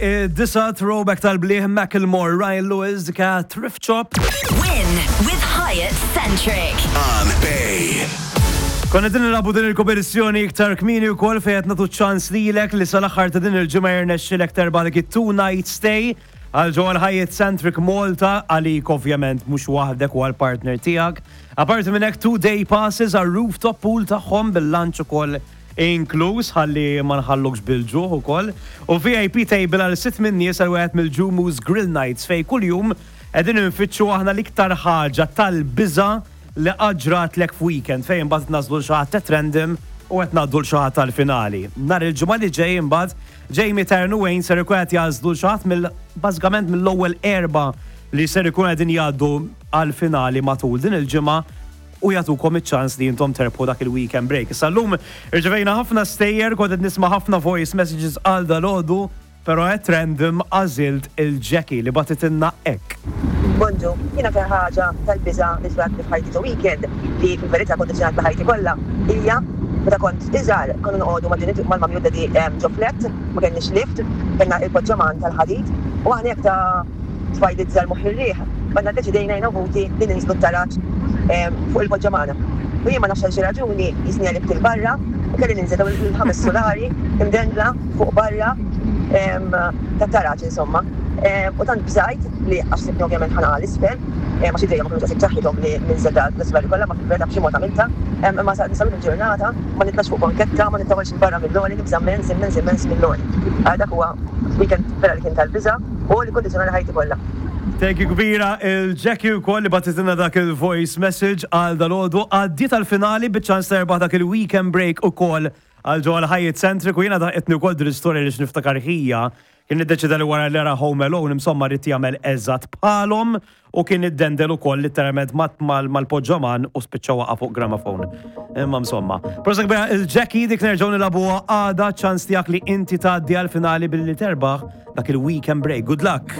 Id-disa throwback tal-bliħ Macklemore, Ryan Lewis, dika Thrift Shop. Win with Hyatt Centric. On Bay. Konna din nilagħbu din il-kompetizzjoni iktar kmieni wkoll fejn qed nagħtu ċans lilek li sal-aħħar ta' din il-ġimgħa jirnexxilek terbaħ dik it-two night stay għal ġewwa l-Hyatt Centric Malta għalik ovvjament mhux waħdek u għall-partner tiegħek. Apparti minn hekk two day passes għal rooftop pool tagħhom bil-lunch ukoll inkluż ħalli ma nħallukx bil-ġuħ ukoll, u VIP table għal sitt min-nies għal wieħed mill-Ġumu's Grill Nights fejn kuljum qegħdin infittxu aħna l-iktar ħaġa tal-biża' li qatt ġratlek f'weekend fejn imbagħad nagħżlu 'l xi ħadd at random u qed ngħaddu 'l xi ħadd għall-finali. Nhar il-Ġimgħa li ġej imbagħad Jamie, Taryn u Wayne ser ikun qed jagħżlu 'l xi ħadd mill bażikament mill-ewwel erbgħa li ser ikun qegħdin jgħaddu għall-finali matul din il-ġimgħa u jagħtukom iċ-ċans li intom terbħu dak il-weekend break. Issa llum irċevejna ħafna stejjer, kont qed nisma' ħafna voice messages għal dalgħodu, però at random għażilt il-Jackie li bagħtitilna hekk. Bonġu, jien aktar ħaġa tal-biża' li ġratli f'ħajti ġo weekend li fil-verità kkondizzjonatli ħajti kollha hija meta kont iżgħar konna noqogħdu mal-ġenituri mal-mummy u d-daddy ġo flat, ma kellniex lift, kellna il-poġġaman tal-ħadid u aħna jekk ta' Tfajliet żgħar moħħ ir-riħ, konna ddeċidejna jiena u ħuti li ninżlu t-taraġ fuq il-poġġamana. U jien ma nafx għal xi raġuni jisni għelibt 'il barra u kelli ninżel dawn il-ħames sulari imdendla fuq barra tat-taraġ insomma. U tant bżajt li għax sibtni ovvjament ħa naqa' 'l isfel, għax idejja ma kinux daqshekk b'saħħithom li ninżel dal-sulari kollha, ma fil-verità b'xi mod għamiltha. Imma sal-lum il-ġurnata ma nitlax fuq banketta, ma nittawalx 'il barra mill-għoli, nibża' immens, immens, immens mill-għoli. Dak huwa weekend vera li kien tal-biża'. U li kkundizzjonali ħajti kollha. Thank you kbira il Jackie wkoll li bagħtitilna dak il-voice message għal dalgħodu. Għaddiet għall-finali biċ-ċans terbaħ dak il-weekend break ukoll għal ġewwa l-Hyatt Centric u jiena daħqitni wkoll din l-istorja għaliex niftakar ħija kien iddeċieda li wara li ra Home Alone insomma ried jagħmel eżatt bħalhom U kien iddendel ukoll litteralment mal-poġġaman u spiċċa waqa' fuq gramophone. Imma insomma. Prosa kbira il-Jackie dik nerġgħu nilagħbuha għada ċans tiegħek li inti tgħaddi għall-finali billi terbaħ dak il-weekend break. Good luck!